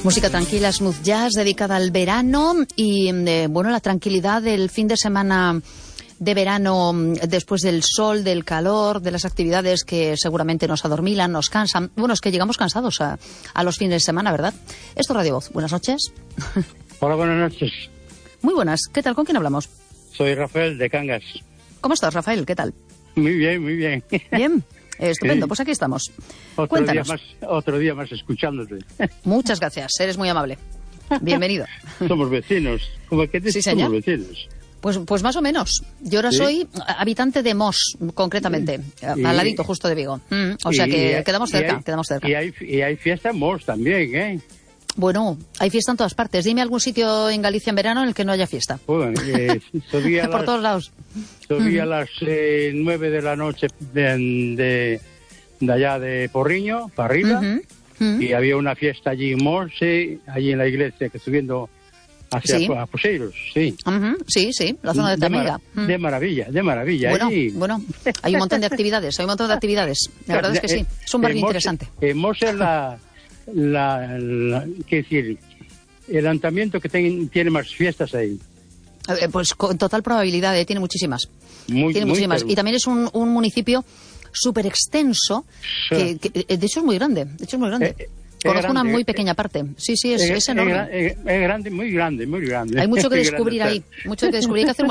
Música tranquila, smooth jazz, dedicada al verano y, la tranquilidad del fin de semana de verano, después del sol, del calor, de las actividades que seguramente nos adormilan, nos cansan. Bueno, es que llegamos cansados a los fines de semana, ¿verdad? Esto es Radio Voz. Buenas noches. Hola, buenas noches. Muy buenas. ¿Qué tal? ¿Con quién hablamos? Soy Rafael de Cangas. ¿Cómo estás, Rafael? ¿Qué tal? Muy bien, muy bien. Bien. Estupendo, Sí. Pues aquí estamos. Cuéntanos. Cuéntanos. Otro día más escuchándote. Muchas gracias, eres muy amable. Bienvenido. Somos vecinos. ¿Cómo que Sí, señor. somos vecinos? Pues más o menos. Yo ahora soy habitante de Mos, concretamente, al ladito justo de Vigo. O sea que quedamos cerca. Y hay fiesta en Mos también, ¿eh? Bueno, hay fiesta en todas partes. Dime algún sitio en Galicia en verano en el que no haya fiesta. Bueno, Por todos lados. Subí a las 9 de la noche de allá de Porriño, para arriba, y había una fiesta allí en Mos, allí en la iglesia, que subiendo hacia Poseiros, sí. Sí, la zona de Tamiga. De maravilla. Bueno, hay un montón de actividades, La verdad es que sí, es un barrio interesante. Mos es ¿qué decir? El ayuntamiento que tiene más fiestas ahí. Pues con total probabilidad, tiene muchísimas. Tiene muchísimas. Y también es un municipio súper extenso, que de hecho es muy grande. Conozco una muy pequeña parte. Sí, es enorme. Es grande, muy grande. Hay mucho que descubrir ahí,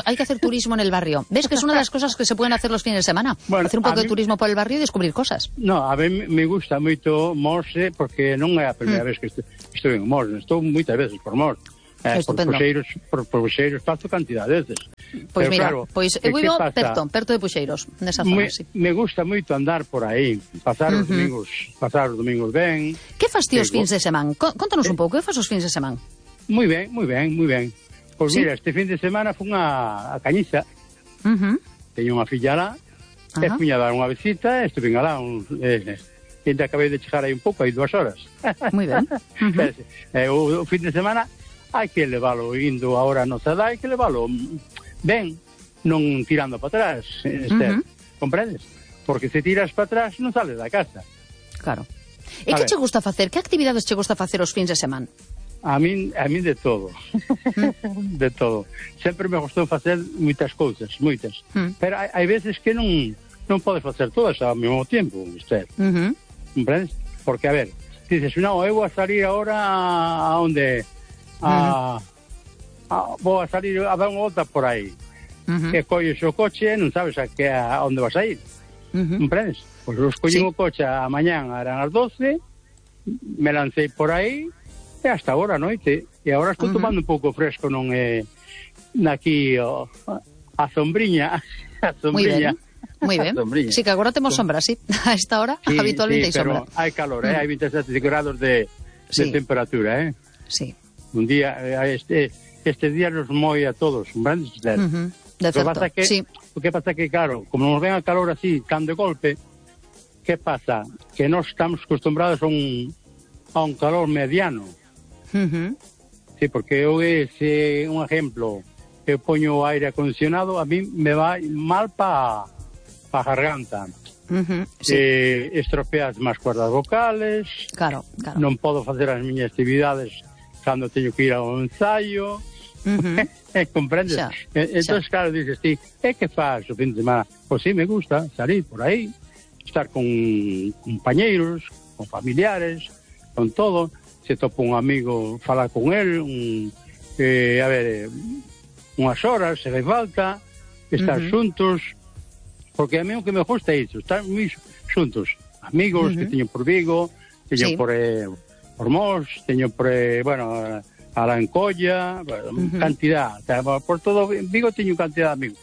Hay que hacer turismo en el barrio. ¿Ves que es una de las cosas que se pueden hacer los fines de semana? Hacer un poco de turismo por el barrio y descubrir cosas. No, a mí me gusta mucho Mos, porque non é a primeira vez que estou en Mos. Estou moitas veces por Mos. Por Puxeiros paso cantidad de veces. Pois mira, claro, eu vivo perto de Puxeiros, nesa zona, sí. Me gusta moito andar por aí, pasar os domingos ben. Que fas ti os fins de semana? Contanos un pouco, que fas os fins de semana? Moi ben. Pois mira, este fin de semana fun a Cañiza. Teño unha filla lá, e fui a dar unha visita, estuve alá e acabei de chegar aí un pouco, aí 2 horas. Moi ben. O fin de semana hai que leválo indo ahora no Zadá, hai que leválo ben, non tirando para atrás, comprendes? Porque se tiras para atrás non sales da casa. Claro. E que che gusta facer? Que actividades che gusta facer os fins de semana? A min de todo. De todo. Sempre me gustou facer moitas cousas, pero hai veces que non podes facer todas ao mesmo tempo, comprendes? Porque, a ver, dices, non, eu vou a salir agora a onde... vou a salir a dar unha volta por aí, e colles o coche, non sabes a onde vas a ir, comprendes? Pois eu escollí o coche a mañán, eran as 12, me lancei por aí e hasta agora a noite, e agora estou tomando un pouco fresco, non é aquí a sombriña. Moi ben. Sí, que agora temos sombra, sí. A esta hora habitualmente hai sombra. Pero hai calor, hai 27 grados de temperatura, Sí. Un día, este día nos moi a todos, grandes de certo, sí. O que pasa que, claro, como nos ven a calor así, tan de golpe, que pasa? Que nós estamos acostumbrados a un calor mediano. Sí, porque eu un ejemplo, eu poño o aire acondicionado, a mí me va mal pa garganta. Estropeas máis cuerdas vocales. Claro. Non podo facer as miñas actividades cando teño que ir ao ensaio, comprendes? Entón, claro, dices ti, que faz o fin de semana? Pois sí, me gusta salir por aí, estar con compañeiros, con familiares, con todo. Se topo un amigo, falar con él, unhas horas, se fai falta, estar xuntos, porque a mí o que me gusta é iso, estar moi xuntos, amigos que teño por Vigo, teño por Mos, teño por, a la Encolla, cantidad, por todo Vigo teño cantidad de amigos.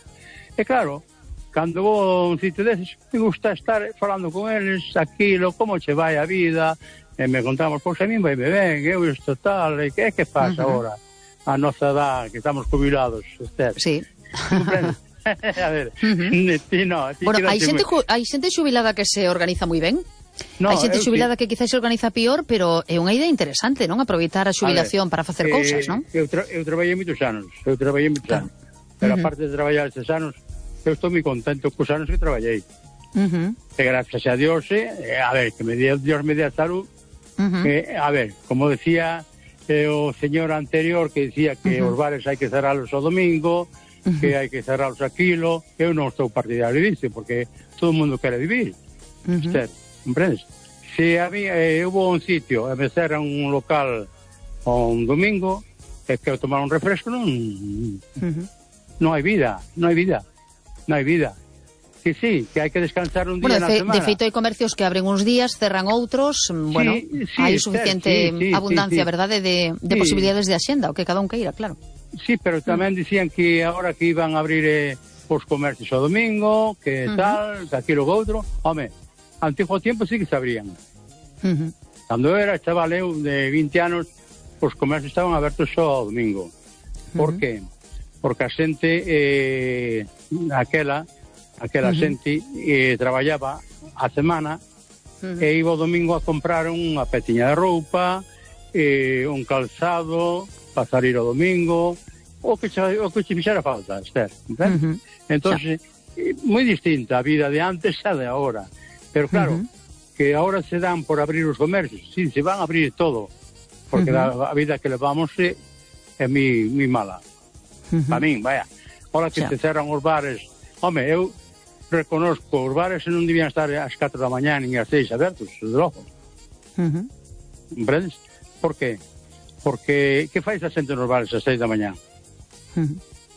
E claro, cando vou a un sitio deses, me gusta estar falando con eles, aquilo, como che vai a vida, e me contamos, pois a mí vai ben, eu isto tal, e que pasa agora? A nosa edad, que estamos jubilados, usted. Sí. A ver, bueno, hai xente xubilada que se organiza moi ben. Hai xente xubilada que quizás se organiza peor, pero é unha idea interesante, non? Aproveitar a xubilación para facer cousas, non? Eu traballei moitos anos, pero aparte de traballar estes anos, eu estou moi contento cos anos que traballei. E gracias a Dios, a ver, que Dios me dé a salud, a ver, como decía o señor anterior que dicía que os bares hai que cerralos o domingo, que hai que cerralos aquilo. Eu non estou partidario disso, porque todo o mundo quere vivir. Comprendes? Se eu vou a un sitio e me cerran un local un domingo, e quero tomar un refresco, non hai vida, non hai vida. Que sí, que hai que descansar un día na semana. De feito, hai comercios que abren uns días, cerran outros, bueno, hai suficiente abundancia, verdade, de posibilidades de axenda, o que cada un queira, claro. Sí, pero tamén dicían que agora que iban a abrir os comercios o domingo, que tal, que aquilo que outro. Home, antigo tiempo sí que se abrían. Cando eu era chaval, eu de 20 anos, os comercios estaban abertos só o domingo. Por qué? Porque a xente, aquela xente traballaba a semana e iba o domingo a comprar unha petiña de roupa, un calzado para salir o domingo, o que se fixera falta, Esther. Entón, moi distinta a vida de antes a de agora. Pero claro, que agora se dan por abrir os comercios, sí, se van a abrir todo, porque a vida que levamos é moi mala. Para min, vaya. Ahora que se cerran os bares, home, eu reconozco, os bares non debían estar ás 4 da mañá nin ás 6 abertos, de logo. Comprendes? Por qué? Porque que fais a xente nos bares ás 6 da mañá?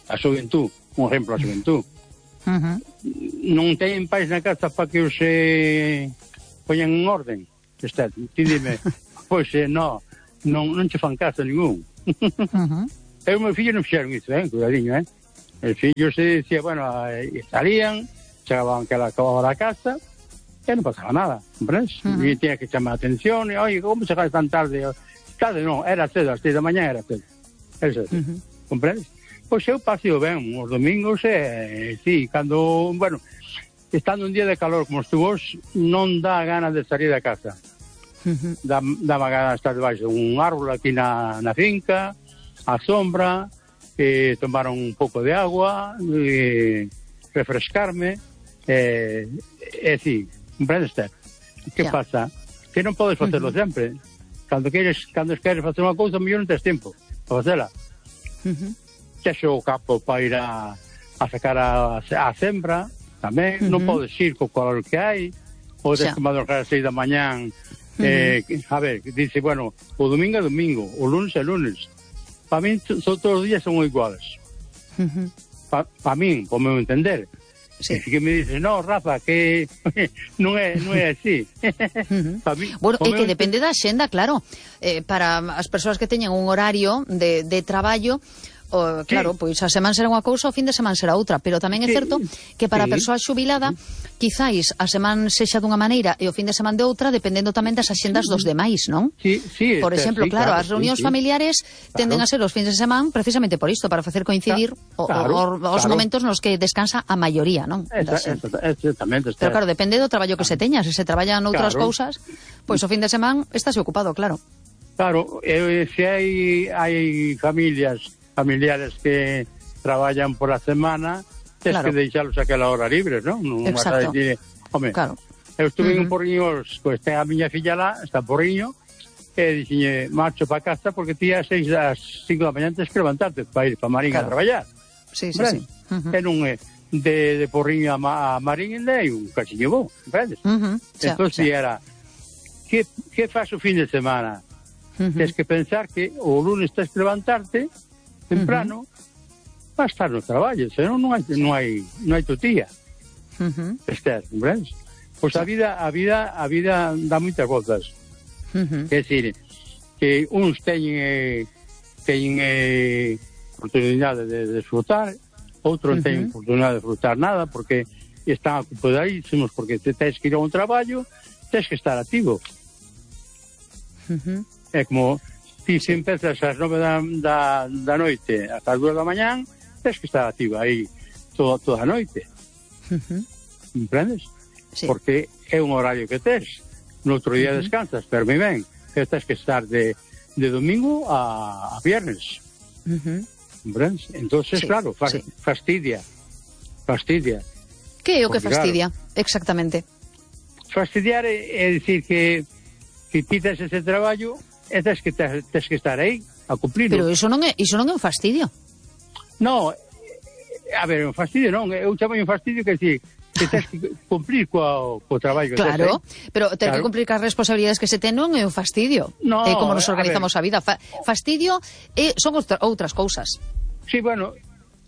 A xuventud, un exemplo, a xuventud. Non teñen pais na casa para que os poñan en orden. Ti dime, pois non che fan caso ningún. Eu e meu fillo non fixeron iso, cuidadiño, El fillo se decía, bueno, salían, chegaban que acababa la casa, e non pasaba nada, comprendes? E tiña que chamar a atención, e, oye, como chegas tan tarde? Tarde non, era cedo, as 6 da mañá era cedo. Comprendes? Pois eu paseo ben os domingos, sí, cando, bueno, estando un día de calor como estuvo, non dá ganas de salir da casa. Dá ganas de estar debaixo de un árbol aquí na finca, a sombra, tomar un pouco de agua, refrescarme, sí, comprendes? Que pasa? Que non podes facelo sempre. Cando queres facer unha cousa, mellor non tens tempo para facela. Chexo o capo para ir a sacar a sembra, tamén, non podes ir co calor que hai, ou tens que madrugar a 6 da mañán, a ver, dice, bueno, o domingo é domingo, o lunes é lunes. Para min, todos os días son iguales. Para min, por meu entender. Sí. Que me dices, no, Rafa, que non é así. Bueno, é que depende da xenda, claro. Para as persoas que teñen un horario de traballo, claro, pois a semana será unha cousa, o fin de semana será outra, pero tamén é certo que para a persoa xubilada, quizáis a semana sexa dunha maneira e o fin de semana de outra, dependendo tamén das axendas dos demais, non? Sí, por exemplo, claro, as reunións familiares tenden a ser os fins de semana precisamente por isto, para facer coincidir os momentos nos que descansa a maioría, non? Exactamente. Pero claro, depende do traballo que se teña, se traballan outras cousas, pois o fin de semana estáse ocupado, claro. Claro, se hai familiares que traballan por a semana, tens que deixalos aquela hora libre, non? Non vas a decir, home, eu estuve en un porriño, pois ten a miña filla lá, está porriño, e dixenlle, marcho para casa porque ti ás 5 da mañá tens que levantarte para ir para Marín a traballar. Sí. E non é de porriño a Marín é un cachiño bo, comprendes? Entón, si era, que faz o fin de semana? Tens que pensar que o lunes tens que levantarte temprano, va a estar no traballo, senón non hai tutía. Esther, comprendes? Pois a vida dá moitas voltas. É dicir, que uns teñen oportunidade de disfrutar, outros non teñen oportunidade de disfrutar nada, porque están ocupadísimos, porque te tens que ir a un traballo, tens que estar activo. É como se empezas ás 9 da noite hasta as 2 da mañán, tens que estar activa aí toda a noite. Comprendes? Sí. Porque é un horario que tes. No outro día descansas, pero moi ben, que tens que estar de domingo a viernes. Comprendes? Entonces, claro, fastidia. Que é o que fastidia? Exactamente. Fastidiar é dicir que ti tes ese traballo tens que estar aí a cumplir. Pero iso non é un fastidio. No, a ver, un fastidio non, eu chamo un fastidio que si que tens que cumplir co traballo. Claro, pero ter que cumplir cas responsabilidades que se ten non é un fastidio. No, é como nos organizamos a vida. Fastidio son outras cousas. Sí, bueno,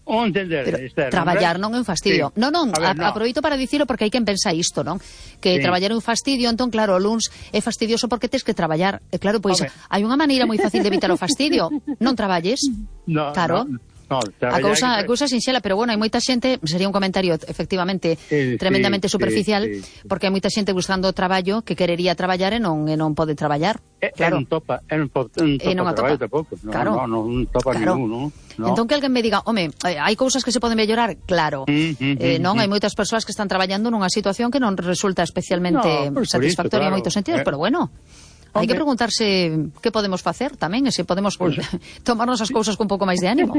o entender. Pero traballar non é un fastidio. Sí. Non, aproveito para dicilo porque hai quen pensa isto, non? Que traballar é un fastidio, entón, claro, o luns é fastidioso porque tes que traballar. E claro, pois, hai unha maneira moi fácil de evitar o fastidio. Non traballes. No, claro. No, a cousa sinxela, pero bueno, hai moita xente, sería un comentario efectivamente tremendamente superficial, porque hai moita xente buscando traballo que querería traballar e non pode traballar. Claro. Non topa traballo tampouco. Claro. Non topa ninguno. No. Entón que alguén me diga, home, hai cousas que se poden mellorar, claro. Non, hai moitas persoas que están traballando nunha situación que non resulta especialmente satisfactoria en moitos sentidos, pero bueno, hai que preguntarse que podemos facer tamén, e se podemos tomarnos as cousas con un pouco máis de ánimo.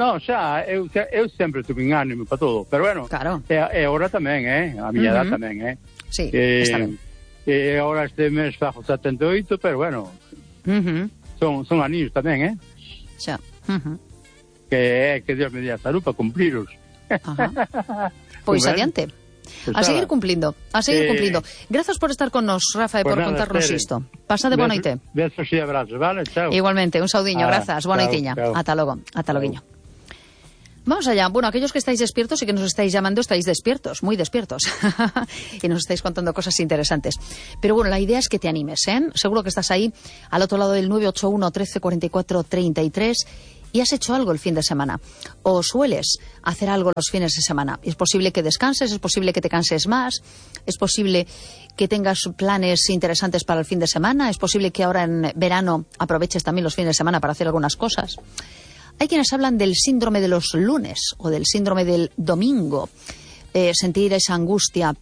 No, xa, eu sempre tuve ánimo para todo, pero bueno, claro. E agora tamén, a miña edad tamén, Sí, está ben. E agora este mes fajo 78, pero bueno, son aninhos tamén, Xa. Que Dios me dé a salud para cumpliros. Pois adiante. A seguir cumplindo, Grazas por estar con nos, Rafa, e por contarnos isto. Pasade boa noite. Besos e abrazos, vale? Chao. Igualmente, un saudiño, grazas, boa noitiña. Ata logo, ata loguiño. Vamos allá. Bueno, aquellos que estáis despiertos y que nos estáis llamando, estáis despiertos, muy despiertos. Y nos estáis contando cosas interesantes. Pero bueno, la idea es que te animes, Seguro que estás ahí, al otro lado del 981 13 44 33, y has hecho algo el fin de semana. O sueles hacer algo los fines de semana. Es posible que descanses, es posible que te canses más, es posible que tengas planes interesantes para el fin de semana, es posible que ahora en verano aproveches también los fines de semana para hacer algunas cosas. Hay quienes hablan del síndrome de los lunes o del síndrome del domingo, sentir esa angustia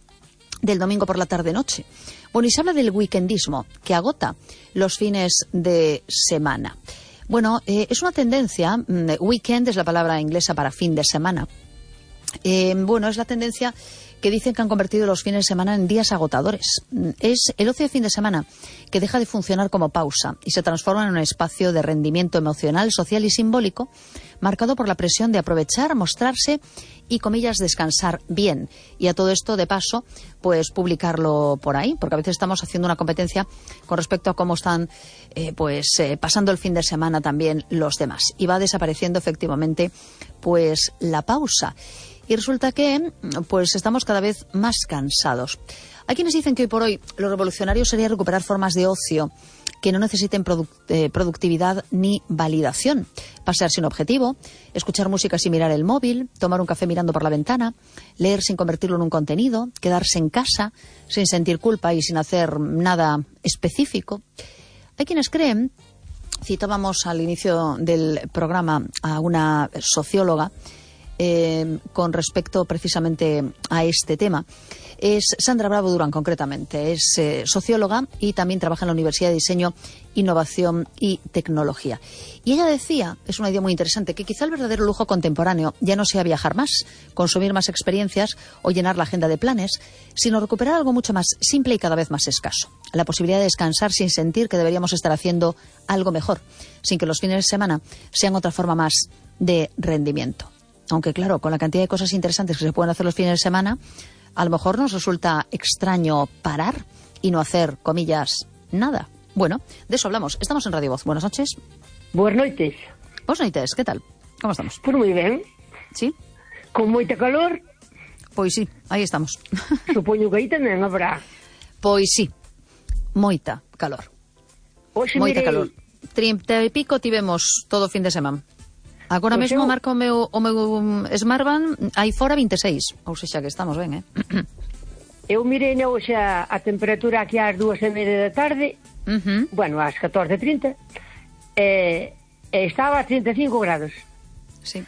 del domingo por la tarde-noche. Bueno, y se habla del weekendismo, que agota los fines de semana. Bueno, es una tendencia, weekend es la palabra inglesa para fin de semana. Bueno, es la tendencia que dicen que han convertido los fines de semana en días agotadores. Es el ocio de fin de semana que deja de funcionar como pausa y se transforma en un espacio de rendimiento emocional, social y simbólico, marcado por la presión de aprovechar, mostrarse y, comillas, descansar bien. Y a todo esto, de paso, pues publicarlo por ahí, porque a veces estamos haciendo una competencia con respecto a cómo están pasando el fin de semana también los demás. Y va desapareciendo efectivamente pues la pausa. Y resulta que pues estamos cada vez más cansados. Hay quienes dicen que hoy por hoy lo revolucionario sería recuperar formas de ocio que no necesiten productividad ni validación. Pasear sin objetivo, escuchar música sin mirar el móvil, tomar un café mirando por la ventana, leer sin convertirlo en un contenido, quedarse en casa sin sentir culpa y sin hacer nada específico. Hay quienes creen, citábamos al inicio del programa a una socióloga, con respecto precisamente a este tema. Es Sandra Bravo Durán, concretamente. Es socióloga y también trabaja en la Universidad de Diseño, Innovación y Tecnología. Y ella decía, es una idea muy interesante, que quizá el verdadero lujo contemporáneo ya no sea viajar más, consumir más experiencias o llenar la agenda de planes, sino recuperar algo mucho más simple y cada vez más escaso. La posibilidad de descansar sin sentir que deberíamos estar haciendo algo mejor, sin que los fines de semana sean otra forma más de rendimiento. Aunque claro, con la cantidad de cosas interesantes que se pueden hacer los fines de semana, a lo mejor nos resulta extraño parar y no hacer, comillas, nada. Bueno, de eso hablamos. Estamos en Radio Voz. Buenas noches. Buenas noites. Buenas noites, ¿qué tal? ¿Cómo estamos? Pues moi ben. ¿Sí? Con moita calor. Pois sí, aí estamos. Supoño que aí tamén habrá. Pois sí, moita calor. Oxe, moita mirei... calor. 30 e pico tivemos todo o fin de semana. Agora mesmo marca o meu Smartband aí fora 26. Ou sexa que estamos ben, Eu mirei hoxe a temperatura aquí ás 2:30 da tarde, bueno, ás 14:30, estaba a 35 grados. Sí.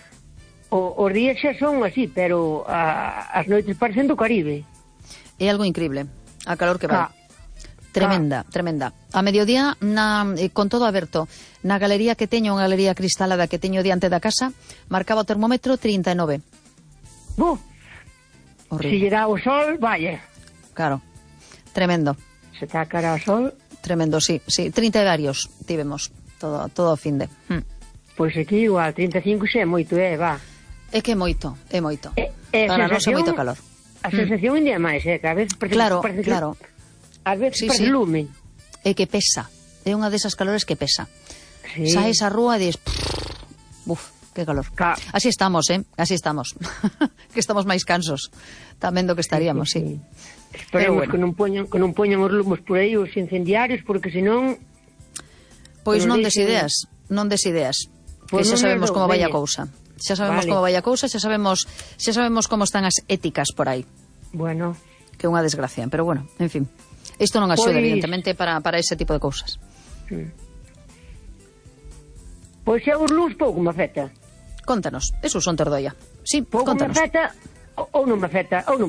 Os días xa son así, pero as noites parecen do Caribe. É algo increíble, a calor que vai. Tremenda, tremenda. A mediodía, con todo aberto, na galería que teño, unha galería cristalada que teño diante da casa, marcaba o termómetro 39. Se lle dá o sol, vaya. Claro, tremendo. Se está cara ao sol. Tremendo, sí. 30 varios tivemos todo o fin de. Pois aquí igual, 35 xa é moito, va. É que é moito. Para nós é moito calor. A sensación ainda é máis, que a veces parece claro. A veces parece lume. É que pesa. É unha desas calores que pesa. Sí. Saes á rúa e dis... Buf, que calor. Así estamos, Así estamos. Que estamos máis cansos. Tamén do que estaríamos, sí. Esperemos que non poñan os lumos por aí, os incendiarios, porque senón... Pois non des ideas. Que xa sabemos como vai a cousa. Xa sabemos como vai a cousa, xa sabemos como están as éticas por aí. Bueno. Que é unha desgracia, pero bueno, en fin. Isto non axuda, evidentemente, para ese tipo de cousas. Pois xa os luz pouco me afecta. Contanos, eso son Tordoia. Sí, pouco contanos. Me afecta ou non me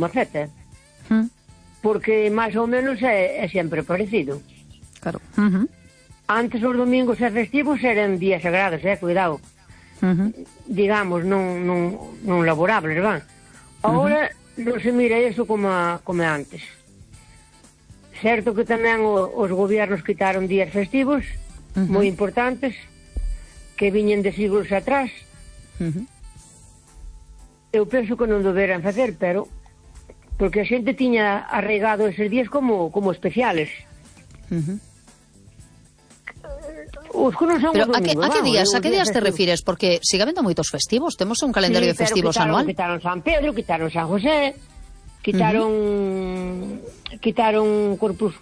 afecta. Porque máis ou menos é sempre parecido. Claro. Antes os domingos e festivos eran días sagrados, cuidado. Digamos, non laborables, van. Agora non se mira eso como antes. Certo que tamén os gobiernos quitaron días festivos moi importantes que viñen de siglos atrás. Eu penso que non deberan facer, pero porque a xente tiña arraigado eses días como especiales. Os que non son pero os domingos, a que días te refires? Porque sigue habendo moitos festivos, temos un calendario de festivos anual. Quitaron San Pedro, quitaron San José, quitaron Corpus,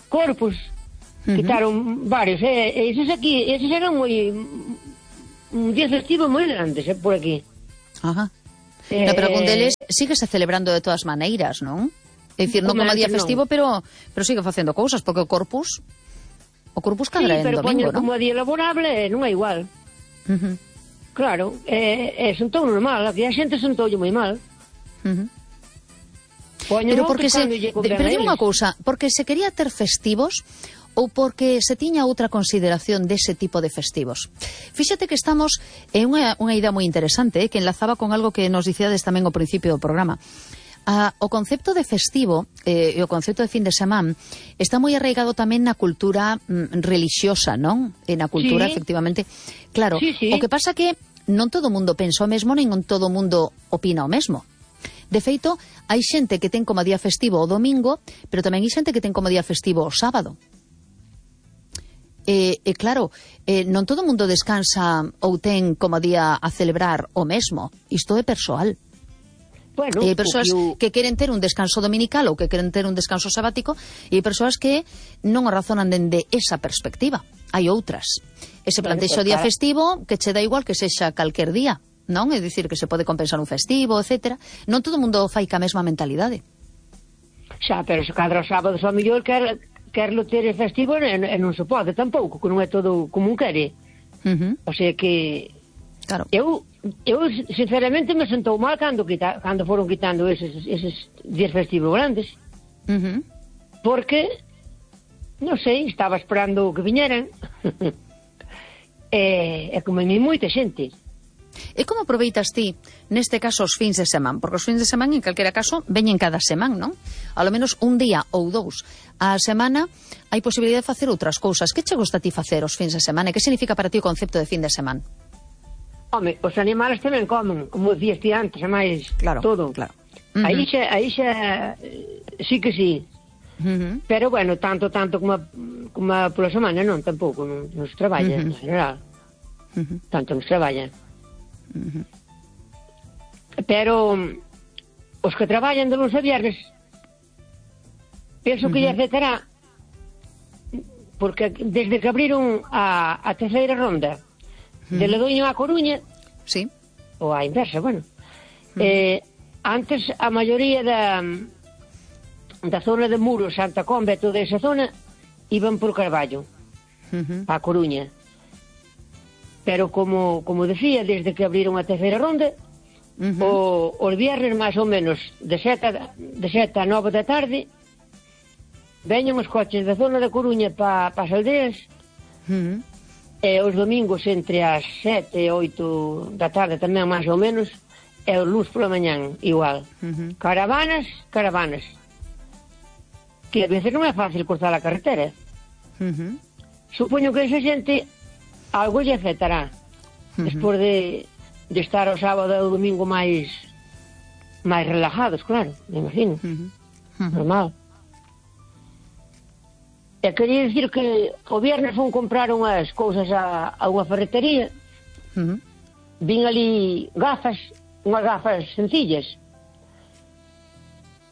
quitaron varios, eses eran un día festivo moi grandes, por aquí. Ajá. Pero con deles síguese celebrando de todas maneiras, non? É dicir, non como día festivo, pero sigue facendo cousas, porque o Corpus cadra en domingo, non? Como día laborable non é igual. Claro, sentou normal, aquí a xente sentou moi mal. Pero porque pero unha cousa, porque se quería ter festivos ou porque se tiña outra consideración dese tipo de festivos. Fíxate que estamos en unha idea moi interesante, que enlazaba con algo que nos dicíades tamén ao principio do programa. O concepto de festivo e o concepto de fin de semana está moi arraigado tamén na cultura religiosa, non? E na cultura, efectivamente. Claro, o que pasa que non todo o mundo pensa o mesmo, nin todo o mundo opina o mesmo. De feito, hai xente que ten como día festivo o domingo, pero tamén hai xente que ten como día festivo o sábado. Claro, non todo o mundo descansa ou ten como día a celebrar o mesmo. Isto é persoal. Bueno, hai persoas que queren ter un descanso dominical ou que queren ter un descanso sabático e hai persoas que non o razonan dende esa perspectiva. Hai outras. Ese plantexo día festivo que che dá igual que sexa calquer día, non? É dicir, que se pode compensar un festivo, etc. Non todo o mundo fai ca mesma mentalidade. Xa, pero se cadra os sábados ao mellor querlo ter festivo e non se pode tampouco, que non é todo como un quere. O sea que... Claro. Eu sinceramente me sentou mal cando foron quitando eses días festivos grandes. Porque, non sei, estaba esperando que viñeran. E como en moita xente. E como aproveitas ti, neste caso, os fins de semana? Porque os fins de semana, en calquera caso, veñen cada semana, non? A lo menos un día ou dous a semana hai posibilidade de facer outras cousas. Que che gusta a ti facer os fins de semana? E que significa para ti o concepto de fin de semana? Home, os animales tamén comen, como dicías ti antes, é máis todo. Claro. Aí xa sí que sí. Pero bueno, tanto como pola semana non, tampouco, non se traballa en general. Tanto non se traballa. Pero os que traballan de luns a viernes penso que lle afectará, porque desde que abriron a terceira ronda de Ledoño a Coruña, sí, ou a inversa, bueno, antes a maioría da zona de Muros, Santa Comba e toda esa zona iban por Carballo a Coruña, pero como decía, desde que abriron a terceira ronda, os viernes máis ou menos de 7 a 9 da tarde veñen os coches da zona de Coruña para as aldeas, e os domingos entre as 7 e 8 da tarde tamén máis ou menos, e os luns pola mañán igual. Caravanas, que a veces non é fácil cruzar a carretera. Supoño que esa xente algo lle afectará despois de estar o sábado e o domingo máis relajados, claro, me imagino. Normal. E quería dicir que o viernes fun comprar unhas cousas a unha ferretería. Vin ali unhas gafas sencillas.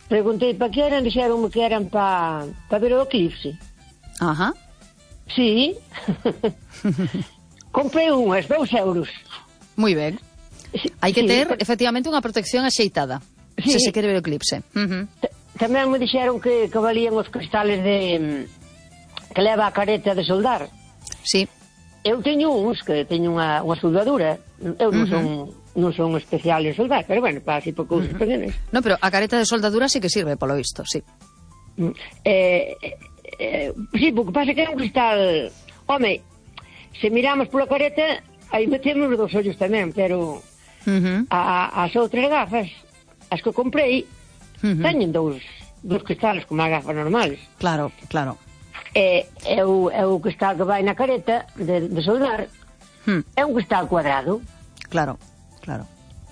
Preguntei para que eran, dixeronme que eran para ver o eclipse. Ajá. Sí. Comprei unhas, 2 euros. Moi ben. Hai que ter, efectivamente, unha protección axeitada, se se quere ver o eclipse. Tamén me dixeron que valían os cristales que leva a careta de soldar. Sí. Eu teño uns que teño unha soldadura. Eu non son especial en soldar, pero bueno, para así por cousas pequenas. No, pero a careta de soldadura sí que sirve, polo visto, sí. Sí, porque pasa que é un cristal... Home, se miramos pola careta, aí metemos os 2 ollos tamén, pero as outras gafas, as que comprei, teñen dous cristales como as gafas normales. Claro, claro. É o cristal que vai na careta de soldar. É un cristal cuadrado. Claro, claro.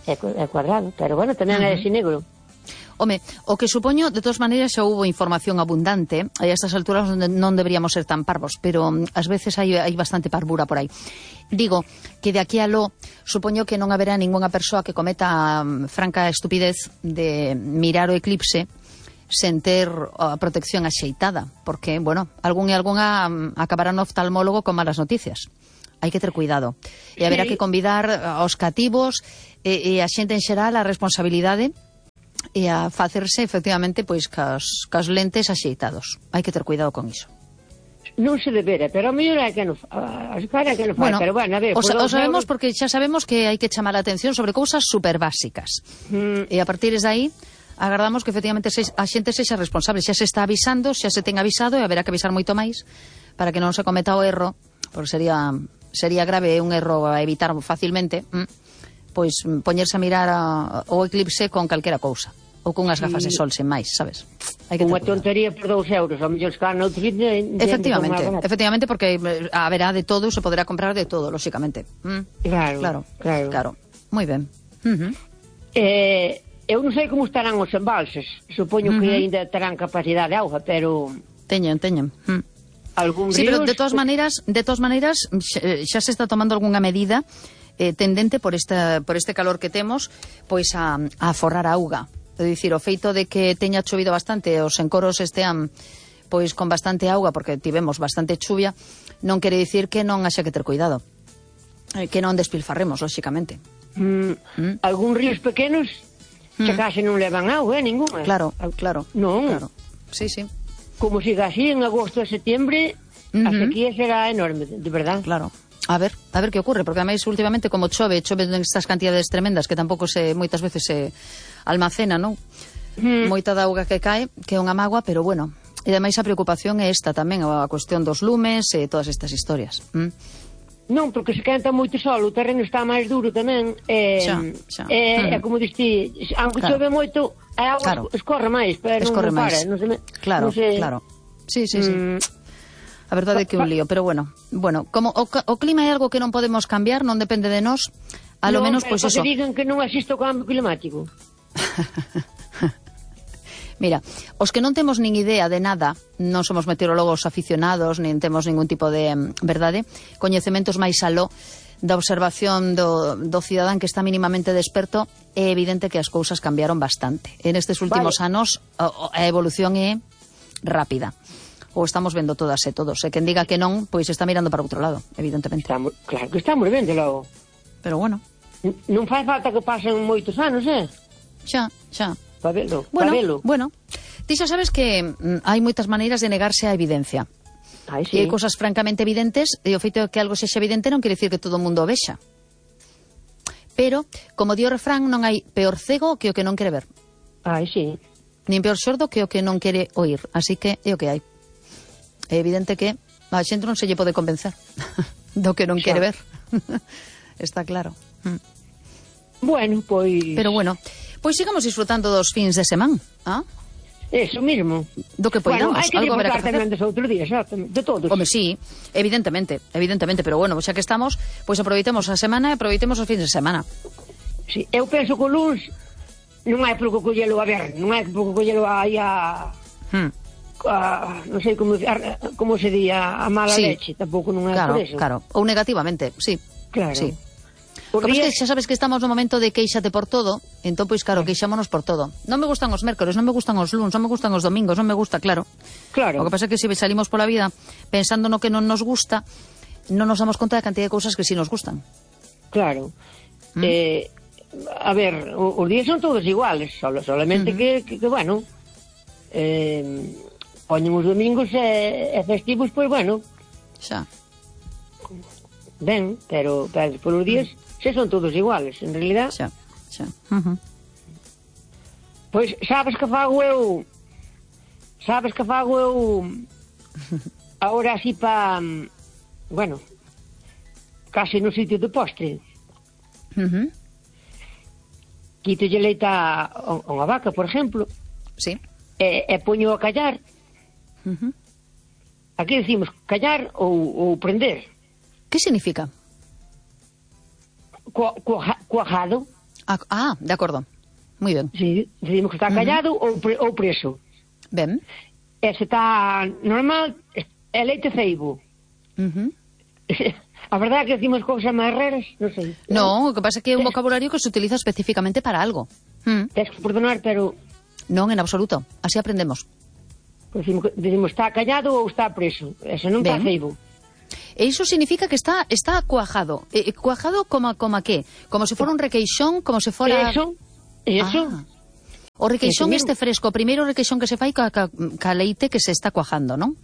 É cuadrado, pero bueno, tamén é así negro. Home, o que supoño, de todas maneiras, xa houve información abundante, e a estas alturas non deberíamos ser tan parvos, pero ás veces hai bastante parvura por aí. Digo que de aquí a lo, supoño que non haberá ningunha persoa que cometa franca estupidez de mirar o eclipse sen ter a protección axeitada, porque, bueno, algún e algunha acabará no oftalmólogo con malas noticias. Hai que ter cuidado. E haberá que convidar aos cativos e a xente en xeral a responsabilidade e a facerse, efectivamente, pois cas lentes axeitados. Hai que ter cuidado con iso. Non se debera, pero a mellor é que non fai, bueno, pero bueno, a ver... O sabemos porque xa sabemos que hai que chamar a atención sobre cousas super básicas. E a partir de aí, agardamos que efectivamente a xente sexa responsable. Xa se está avisando, xa se ten avisado e haberá que avisar moito máis para que non se cometa o erro, porque sería grave un erro a evitar facilmente, pois poñerse a mirar o eclipse con calquera cousa, ou con unhas gafas de sol sen máis, sabes? Hai que unha tontería por 2 euros, ao mellor escar noutro sitio... Efectivamente, porque haberá de todo, se poderá comprar de todo, lóxicamente. Claro. Moi ben. Eu non sei como estarán os embalses, supoño que aínda terán capacidade de auga, pero... Teñen. Algún sí, ríos... pero de todas maneiras xa se está tomando algunha medida tendente por este calor que temos, pois a aforrar a auga. É dicir, o feito de que teña chovido bastante, os encoros estean pois con bastante auga, porque tivemos bastante chuvia, non quere dicir que non haxa que ter cuidado, que non despilfarremos, lóxicamente. Algún ríos pequenos xa case non levan auga, ninguna. Claro. Non. Claro. Sí. Como siga así en agosto e setembro, a sequía será enorme, de verdad. Claro. A ver que ocurre, porque ademais últimamente como chove nestas cantidades tremendas que tampouco moitas veces se almacena, non? Moita da auga que cae, que é unha mágoa, pero bueno, e ademais a preocupación é esta tamén, a cuestión dos lumes e todas estas historias. Non, porque se quenta moito sol, o terreno está máis duro tamén, é como diste, aunque chove moito, a auga escorre máis, pero non para. Claro. Sí. A verdade é que é un lío, pero bueno, como o clima é algo que non podemos cambiar, non depende de nós, a lo menos, pois eso. Non, pero que digan que non existe o cambio climático. Mira, os que non temos nin idea de nada, non somos meteorólogos aficionados, nin temos ningún tipo de, verdade, coñecementos máis aló da observación do cidadán que está mínimamente desperto, é evidente que as cousas cambiaron bastante. En estes últimos anos, a evolución é rápida. Ou estamos vendo todas e todos. E quen diga que non, pois está mirando para outro lado, evidentemente. Claro que estamos vendo logo. Pero bueno. Non fai falta que pasen moitos anos, Xa. Para velo. Bueno. Ti xa sabes que hai moitas maneiras de negarse á evidencia. Sí. E hai cosas francamente evidentes, e o feito de que algo sexa evidente non quere dicir que todo o mundo o vexa. Pero, como di o refrán, non hai peor cego que o que non quere ver. Sí. Nin peor sordo que o que non quere oír. Así que é o que hai. É evidente que a xente non se lle pode convencer do que non quere ver. Está claro. Bueno, pois... Pero bueno, pois sigamos disfrutando dos fins de semana. Eso mismo. Do que poidamos, hai que algo haberá que disfrutar tamén facer. dos outros días, de todos. Home, sí, evidentemente, pero bueno, xa que estamos, pois aproveitemos a semana e aproveitemos os fins de semana. Sí, eu penso que o luns non hai por que collelo a ver, non hai por que collelo aí a non sei como se di, a mala leche, tampouco non é por eso. Claro, ou negativamente, sí. Claro. Sí. Porque xa sabes que estamos no momento de queixate por todo, entón, pois, claro, queixámonos por todo. Non me gustan os mércores, non me gustan os luns, non me gustan os domingos, non me gusta, claro. O que pasa é que se salimos pola vida pensando no que non nos gusta, non nos damos conta da cantidad de cousas que sí nos gustan. Claro. A ver, os días son todos iguales, solamente que bueno, poñen os domingos e festivos, pois, bueno. Xa. Ben, pero por os días se son todos iguales, en realidad. Xa. Pois sabes que fago eu ahora así pa, bueno, casi no sitio de postre. Quitolle leite a unha vaca, por exemplo. Sí. E poño a callar. Aquí decimos callar ou prender. Que significa? Cuajado. De acordo. Moi ben. Sí, decimos que está callado ou preso. Ben. E se está normal, é leite ceibo. A verdade é que decimos cousas máis raras, non sei. No, o que pasa é que é un vocabulario que se utiliza especificamente para algo. Tens que perdonar, pero... Non, en absoluto. Así aprendemos. Decimos está callado ou está preso. Eso non está ceibo. E iso significa que está cuajado. Cuajado como a que? Como se fora un requeixón, como se fora... Eso. O requeixón este fresco, o primeiro requeixón que se fai ca leite que se está cuajando, non?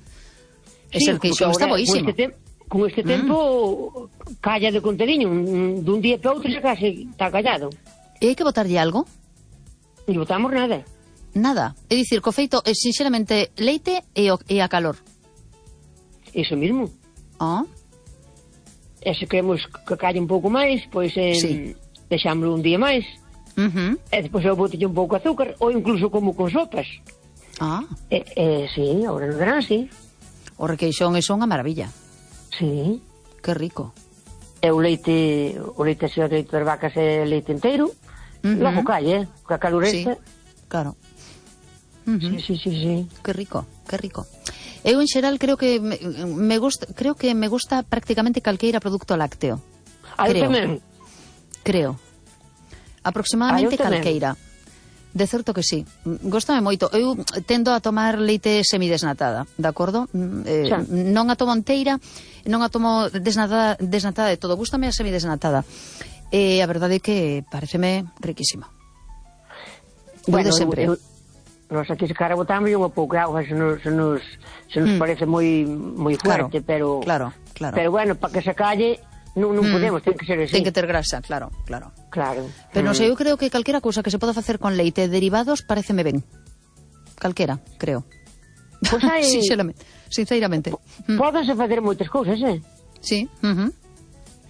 Ese requeixón está boísimo. Con este tempo calla de contediño, dun día para outro xa case está callado. E hai que botarlle algo? Non botamos nada. Nada, é dicir, co feito é sinxeramente leite e a calor. Iso mismo. E se queremos que calle un pouco máis, pois deixámoslo un día máis. E depois eu botelle un pouco de azúcar, ou incluso como con sopas. Sí, agora no verán, sí. O requeixón é unha maravilla. Sí. Que rico. E o leite así, o leite das vacas é leite inteiro, logo calle, coa calor esta. Claro. Sí. Que rico. Eu en xeral creo que me gusta prácticamente calqueira produto lácteo. Creo. Aproximadamente calqueira. De certo que sí. Góstame moito. Eu tendo a tomar leite semidesnatada, de acordo? Non a tomo inteira, non a tomo desnatada de todo. Gústame a semidesnatada. E a verdade é que pareceme riquísima. Bueno, de sempre. Nos aquí se cara botamos unha pouco de auga se nos parece moi fuerte, pero bueno, para que se calle non podemos, ten que ser así. Ten que ter grasa, claro. Pero non sei, eu creo que calquera cousa que se poda facer con leite e derivados pareceme ben. Calquera, creo. Pois hai... Sinceramente. Pódense facer moitas cousas, Sí.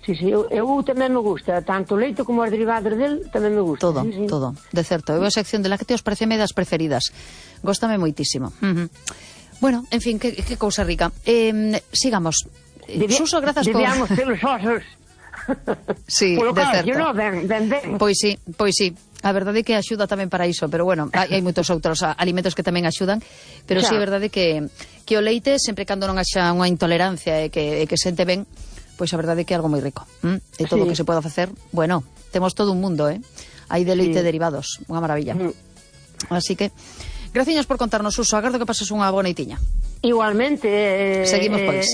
Sí, eu tamén me gusta, tanto o leite como os derivados del tamén me gusta. Todo, de certo. Eu a sección de lácteos pareceme das preferidas. Góstame moitísimo. Bueno, en fin, que cousa rica. Sigamos. Suso, grazas por... Debíamos ter os osos. Sí, de certo. Ben. Pois sí. A verdade é que axuda tamén para iso, pero bueno, hai moitos outros alimentos que tamén axudan, pero sí é verdade que o leite, sempre cando non haxa unha intolerancia e que sente ben, pois a verdade é que é algo moi rico. E todo o que se poda facer, bueno, temos todo un mundo, hai de leite derivados, unha maravilla. Así que, graciñas por contarnos, Suso, agardo que pases unha boa noitiña. Igualmente. Seguimos, pois.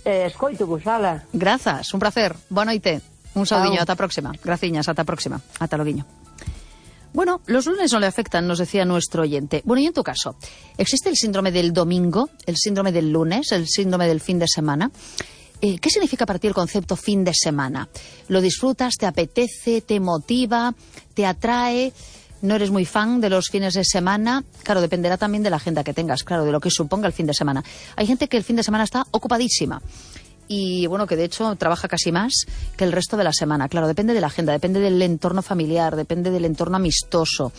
Escoito, Gusala. Grazas, un placer, boa noite. Un saudiño, ata a próxima. Graciñas, ata a próxima. Ata loguiño. Bueno, los lunes no le afectan, nos decía nuestro oyente. Bueno, y en tu caso, ¿existe el síndrome del domingo, el síndrome del lunes, el síndrome del fin de semana? ¿Qué significa para ti el concepto fin de semana? ¿Lo disfrutas, te apetece, te motiva, te atrae? ¿No eres muy fan de los fines de semana? Claro, dependerá también de la agenda que tengas, claro, de lo que suponga el fin de semana. Hay gente que el fin de semana está ocupadísima y bueno, que de hecho trabaja casi más que el resto de la semana. Claro, depende de la agenda, depende del entorno familiar, depende del entorno amistoso,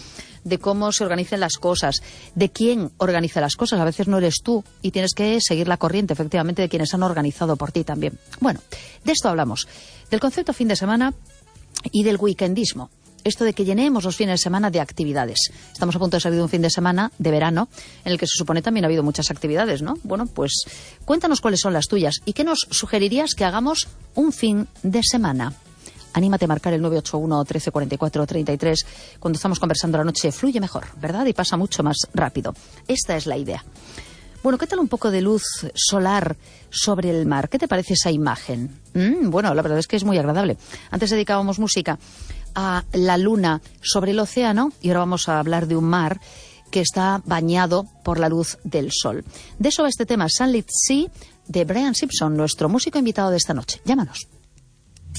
de cómo se organicen las cosas, de quién organiza las cosas. A veces no eres tú y tienes que seguir la corriente, efectivamente, de quienes han organizado por ti también. Bueno, de esto hablamos, del concepto fin de semana y del weekendismo. Esto de que llenemos los fines de semana de actividades. Estamos a punto de salir de un fin de semana de verano en el que se supone también ha habido muchas actividades, ¿no? Bueno, pues cuéntanos cuáles son las tuyas y qué nos sugerirías que hagamos un fin de semana. Anímate a marcar el 981 13 44 33. Cuando estamos conversando la noche fluye mejor, ¿verdad? Y pasa mucho más rápido. Esta es la idea. Bueno, ¿qué tal un poco de luz solar sobre el mar? ¿Qué te parece esa imagen? Bueno, la verdad es que es muy agradable. Antes dedicábamos música a la luna sobre el océano y ahora vamos a hablar de un mar que está bañado por la luz del sol. De eso va este tema, Sunlit Sea, de Brian Simpson, nuestro músico invitado de esta noche. Llámanos.